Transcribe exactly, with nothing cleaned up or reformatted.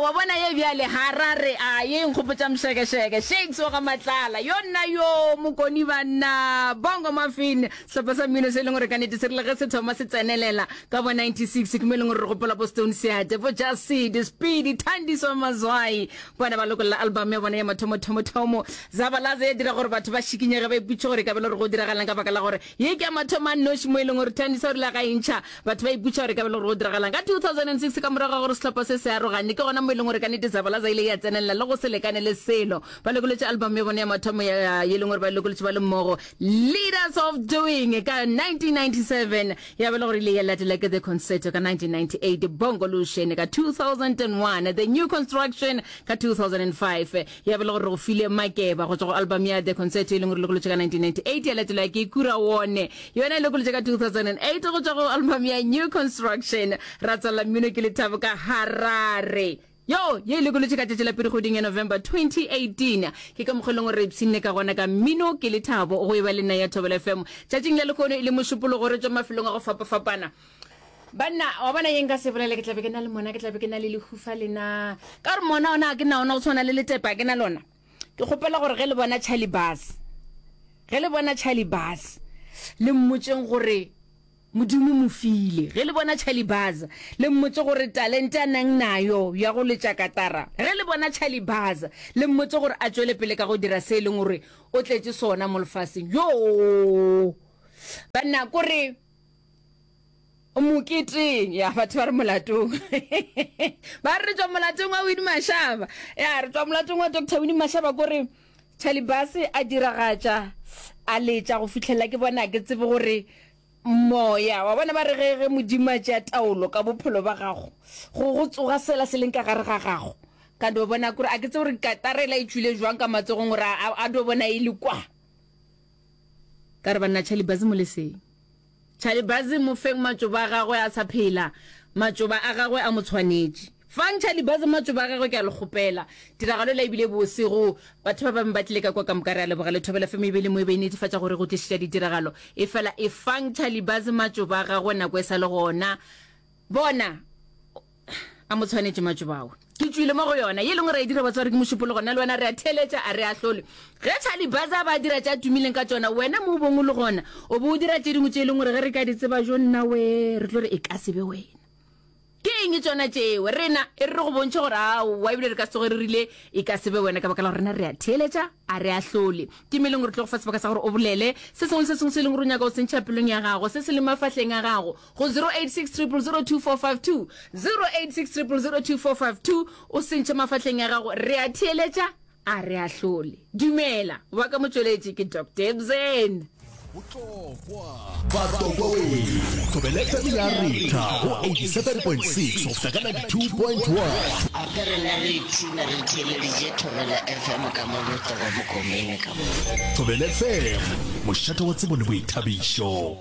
wa bona ye bjale Harare a ye nkgopotša Mšekešeke Shakes wa ga Matlala yo nna yo Mokoni banna Bongo Maffin sehlopha sa mmino se e leng gore ka nnete se rile ge se thoma se tsenelela ka bo ninety six ke mo e leng gore re gopola bo Stone Seate bo Just Seed Speedy Thandiswa Mazwai bona ba lokolla album ya bona ya mathomothomo-thomo Zabalaza ya dira gore batho ba šikinyege ba ipotšiše gore e ka be le gore go diragalang ka baka la gore ye ke ya mathomo a nnoši mo e leng gore Thandiswa o rile ga e ntšha Batho ba ipotša gore e ka be le gore go diragalang. Ka two thousand and six ka morago ga gore sehlopha se se arogane, ke gona mo e leng gore ka nnete Zabalaza ile ya tsenelela le go se lekane le selo. Ba lokolotše album ya bona ya mathomo ya ye leng gore ba e lokolotše ba le mmogo, Leaders of Doing, ka nineteen ninety seven, ya ba le gore ile ya latela ke The Concerto ka nineteen ninety eight, Bongolution ka two thousand and one, The New Construction ka two thousand and five, ya ba le gore re go file Makeba go tšwa go album ya The Concerto e leng gore e lokolotšwe ka nineteen ninety eight, ya latelwa ke Kuraone Yona e lokolotše ka two thousand and eight go tšwa go album ya New Construction. Ra tswalela mmino ke Lethabo ka Harare. Yo, ye e lokolotše ka tšatši la pele kgweding ya November twenty eighteen. Ke ka mokgwa e leng gore re ipshinne ka gona ka mmino ke Lethabo go e ba le nna ya Thobela F M. Tšatšing la lehono e le Mošupologo re tšwa mafelong a go fapafapana. Banna, wa bona ye nka se bolele ke tla be ke na le mona, ke tla be ke na le lehufa lena. Ka gore mona ona ke na ona go tshwana le letepe a ke na lona. Ke kgopela gore ge le bona Charlie Bass, ge le bona Charlie Bass, le mmotšeng gore Modimo mo file. Ge le bona Charlie Bass, le mmotše gore talente a nang nayo ya go letša katara. Ge le bona Charlie Bass, le mmotše gore a tšwele pele ka go dira se e leng gore o tletše sona mo lefaseng. Yoo! Banna, kore moketeng ya batho ba re molatong ba re re tšwa molatong wa Winnie Mashaba ya re tšwa molatong wa Doctor Winnie Mashaba kore Charlie Bass a diragatša a letša go fihlela ke bona ke tsebe gore moya wa bona ba re ge ge modimo a tšea taolo ka bophelo ba gago go go tsoga sela se leng ka gare ga gago ka do bona kore a ke tsebe gore katarela e tšwile jwang ka matsogong gore a do bona e le kwa ka re banna Charlie Bass mo leseng Charlie Bazzi mo feng matšoba a gagwe a sa phela. Matšoba a gagwe a mo tshwanetše. Fang Charlie Bazzi matšoba a gagwe ke a le kgopela. Tiragalo ela e bile bose go batho ba bangwe ba tlile ka kwa ka moka re a leboga. Le Thobela F M e be e le mo e be e netefatša gore go tlišetša ditiragalo. Efela efang Charlie Bazzi matšoba a gagwe nako e sa le gona. Bona, a mo tshwanetše matšoba ao. Ke tšwile mo go yona. Ye lengwe ra e dira batswadi ke Mošupologo, nna le wena re a theeletša, a re ahlole. Ge Charlie Baza a ba a dira tše a tumileng ka tšona, wena mo o bong o le gona, o be o dira tše dingwe tše e leng gore ge re ka di tseba, jo nna wee, re tlo re e ka se be wena. Ke eng tšona tšeo? Rena e re re go bontšhe gore aowa, ebile re ka se tsoge re rile e ka se be wena ka baka la gore rena re a theeletša, a re ahlole. Ke mo e leng gore re tlo go fa sebaka sa gore o bolele se sengwe le se sengwe se e leng gore o nyaka go se ntšha pelong ya gago, se se leng mafahleng a gago, go zero eight six triple zero two four five two, zero eight six triple zero two four five two, o se ntšhe mafahleng a gago. Re a theeletša, a re ahlole. Dumela, wa ka motšweletši ke Doctor Ebsen. Botlokwa Batlokwa we Thobela F M ya retha go eighty-seven point six go fihla ka ninety-two point one. Gape rena re ipshina re theeleditše Thobela F M ka mo Botlokwa Bokomene ka mo. Thobela F M, mošate wa tsebo le boithabišo.